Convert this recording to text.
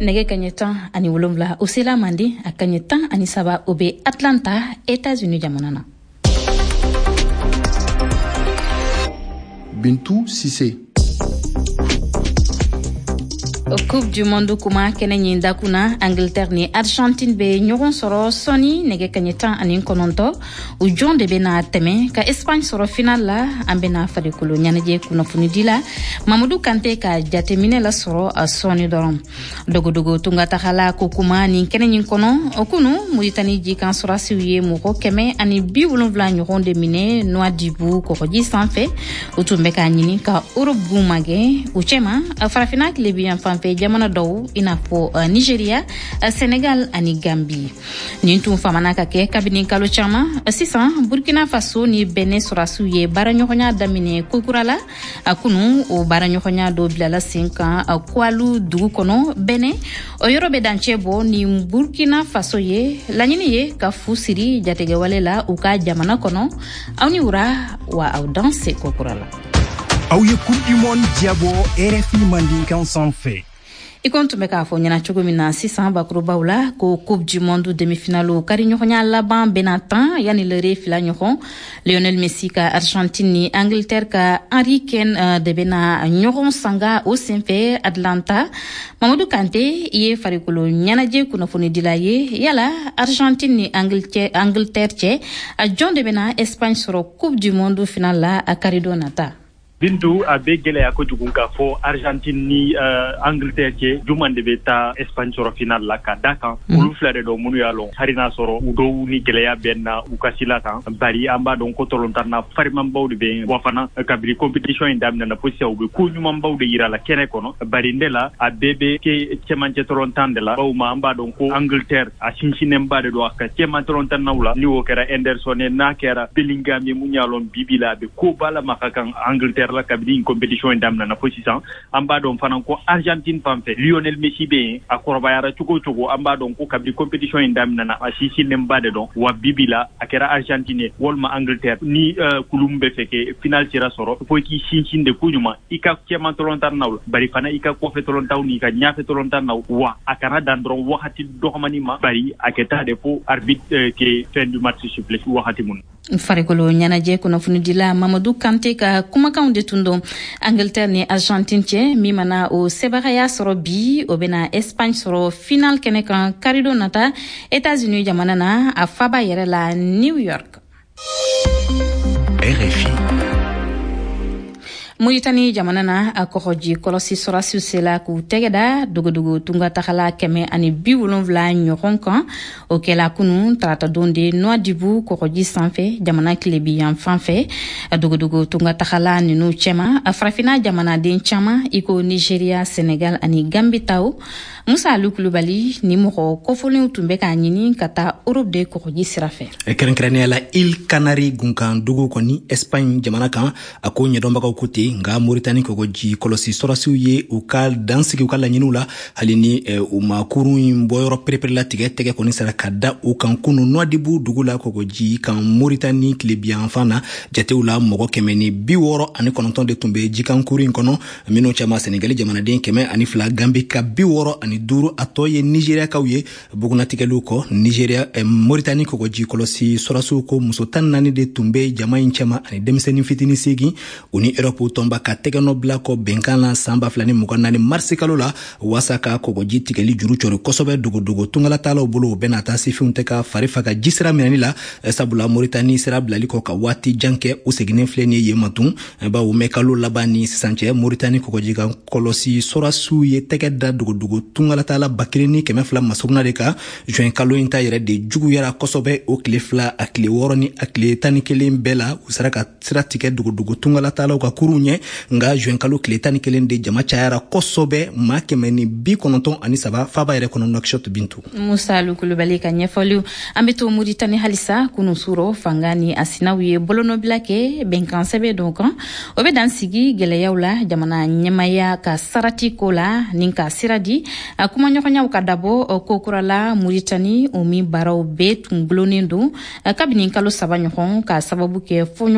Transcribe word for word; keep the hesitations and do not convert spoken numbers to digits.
Nɛgɛ kaɲɛ tan ani wolonwula o sela Manden, a kaɲɛ tan ani saba o bɛ Atlanta, États-Unis jamana na. Bintu Sise. Coupe du monde kuma kɛnɛ ɲin dakun na, Angleterre ni Argentine bɛ ɲɔgɔn sɔrɔ sɔɔni nɛgɛ kaɲɛ tan ani kɔnɔntɔn. U jɔn de bɛna tɛmɛ ka Espagne sɔrɔ final la? An bɛna farikolo ɲɛnajɛ kunnafonidi la Mamadu Kante ka jateminɛ lasɔrɔ sɔɔni dɔrɔn. Dogodogo tungatagala ko kuma nin kɛnɛ ɲin kɔnɔ, kunu Muritani jikan sɔrɔdasiw ye mɔgɔ kɛmɛ ani bi wolonwula ɲɔgɔn de minɛ Nouadhibou kɔgɔji sanfɛ. U tun bɛ k'a ɲini ka Europe gun magɛn, u cɛma farafinna tilebi yanfan fɛ jamana dɔw, i n'a fɔ Nigeria, Senegal ani Gambi. Nin tun famana ka kɛ kabini kalo caman sisan. Burkina Faso ni Benin sɔrɔdasiw ye baaraɲɔgɔnya daminɛ kokura la a kunu. O baaraɲɔgɔnya dɔ bilala sen kan Koualou dugu kɔnɔ Benin, o yɔrɔ bɛ dancɛ bɔ ni Burkina Faso ye. Laɲini ye ka fu siri jatigɛwale la u ka jamana kɔnɔ. Aw ni wura wa, aw danse kokura la. Aw ye Coupe du monde jabɔ R F I Mandinkan sanfɛ. I ko n tun bɛ k'a fɔ ɲɛna cogo min na sisan bakurubaw la, ko Coupe du monde demi-finale kari ɲɔgɔnya laban bɛna tan yanni lere fila ɲɔgɔn. Lionel Messi ka Argentine ni Angleterre ka Harry Kane de bɛna ɲɔgɔn sanga o senfɛ Atlanta. Mamadu Kante, i ye farikolo ɲɛnajɛ kunnafonidila ye. Yala Argentine ni Angleterre cɛ, a jɔn de bɛna Espagne sɔrɔ Coupe du monde finale la a karidon nata? Bintu, a bɛ gɛlɛya kojugu k'a fɔ Argentine ni uh, Angleterre cɛ, juman de bɛ taa Espagne sɔrɔ final la, ka da kan mm. olu fila de dɔn minnu y'a lɔn, hali n'a sɔrɔ u dɔw ni gɛlɛya bɛ na u ka sila kan, bari an b'a dɔn ko tɔlɔntan na farimanbaw de bɛ wa fana. Kabini compétition in daminɛna fo sisan, u bɛ ko ɲumanbaw de yira la kɛnɛ kɔnɔ, bari ne la a bɛɛ bɛ kɛ cɛmancɛ tɔlɔntan de la, bawo ma an b'a dɔn ko Angleterre a sinsinnenba de don a ka cɛman tɔlɔntannaw la, ni o kɛra Henderson ye, n'a kɛra Bellingham ye, mun y'a lɔn bibi la a bɛ koba la maka kan Angleterre la kabini compétition in daminɛna fo sisan. An b'a dɔn fana ko Argentine fan fɛ, Lionel Messi bɛ yen. A kɔrɔbayara cogo o cogo, an b'a dɔn ko kabini compétition in daminɛna, a sinsinnenba de dɔn wa. Bibi la a kɛra Argentine ye walima Angleterre ni uh, kulu min bɛ fɛ kɛ final sera sɔrɔ, fo i k'i sinsin de koɲuman i ka cɛman tɔlɔntan naw la, bari fana i ka kɔfɛ tɔlɔntanw n'i ka ɲɛfɛ tɔlɔntan naw wa. A kana dan dɔrɔn wagati dɔgɔmani ma, bari a kɛ taa de fo arbitre euh, ke fin du match siffler wagati mun. Farikolo ɲɛnajɛ kunnafonidila Mamadu Kante ka kumakanw de tun don. Angleterre ni Argentine cɛ, min mana o sebagaya sɔrɔ bi, o bena Espagne sɔrɔ final kɛnɛ kan karidon nata États-Unis jamana na, a faba yɛrɛ la New York. R F I. Muritani jamana na, a kɔgɔji kɔlɔsi sɔrɔdasiw sela k'u tɛgɛ da dogodogo tunga tagala kɛmɛ ani bi wolonfila ɲɔgɔn kan. O kɛla kunu taratadon de Nouadhibou kɔgɔji sanfɛ, jamana tilebi yan fan fɛ. Dogodogo tunga tagala nunu cɛma, farafina jamanaden caaman, i ko Nigeria, Senegal ani Gambi taw. Musa Alu Kulubali, ni mɔgɔ kɔfɔlenw tun bɛ k'a ɲini ka taa Europe de kɔgɔji sira fɛ. Kɛrɛnkɛrɛnnenya la, Îles Canaries gunkan dugu kɔni, Espagne jamana kan, a ko ɲɛdɔnbagaw ko ten. Nka Moritani kɔgɔji kɔlɔsi sɔrɔdasiw ye u ka dan sigi u ka laɲiniw la, hali ni u ma kurun in bɔyɔrɔ pereperelatigɛ. Tɛgɛ kɔni sera ka da u kan kunu Nouadhibou dugu la, kɔgɔji kan, Moritani tilebiyanfan na. Jatew la, mɔgɔ kɛmɛ ni bi wɔɔrɔ ani kɔnɔntɔn de tun bɛ jikan kuru in kɔnɔ, minnu cɛma Senegali jamanaden kɛmɛ ani fila, Gambi ka bi wɔɔrɔ ani duuru, a tɔ ye Nigeriakaw ye. Bugunatigɛliw kɔ, Nigeria eh, Moritani kɔgɔji kɔlɔsi sɔrɔdasiw ko muso tan naani de tun bɛ jama in cɛma ani denmisɛnnin fitinin seegin. U ni Erɔpu tɔnba ka tɛgɛnɔ bila kɔ bɛnkan la san ba fila ni mugan naani marisi kalo la, waasa ka kɔgɔji tigɛli juru cɔri kosɛbɛ dogodogo tungalatalaw bolo. U bɛna taa sifinw tɛ ka fari faga ji sira minɛni la, sabula Moritani sira bilali kɔ ka waati jan kɛ, u seginnen filɛ nin ye yen ma tun, bawo mɛ kalo laban ni sisan cɛ, Moritani kɔgɔji kan kɔlɔsi sɔrɔdasiw ye tɛgɛ da dogodogo tungalatala ba kelen ni kɛmɛ fila masuruna de kan. Juin kalo in ta yɛrɛ de juguyara kosɛbɛ. O tile fila, a tile wɔɔrɔ ni a tile tan ni kelen bɛɛ la, u sera ka sira tigɛ dogodogo tungalatalaw ka kurun ɲɛ. Nka juin kalo tile tan ni kelen de jama cayara kosɛbɛ, maa kɛmɛ ni bi kɔnɔntɔn ani saba faba yɛrɛ kɔnɔ Nouakchott, Bintu. Musa Alu Kulubali ka ɲɛfɔliw. An be to Muritani halisa. Kunu suro, fanga ni a sinaw ye bolonɔbila kɛ bɛnkan sɛbɛ dɔ kan, o be dan sigi gwɛlɛyaw la jamana ɲɛmaya ka sarati ko la ni ka sira di a kumaɲɔgɔnyaw ka dabɔ kokura la Muritani, o min baaraw bɛɛ tun gulonnen don kabini kalo saba ɲɔgɔn, ka sababu kɛ fɔɲɔgɔn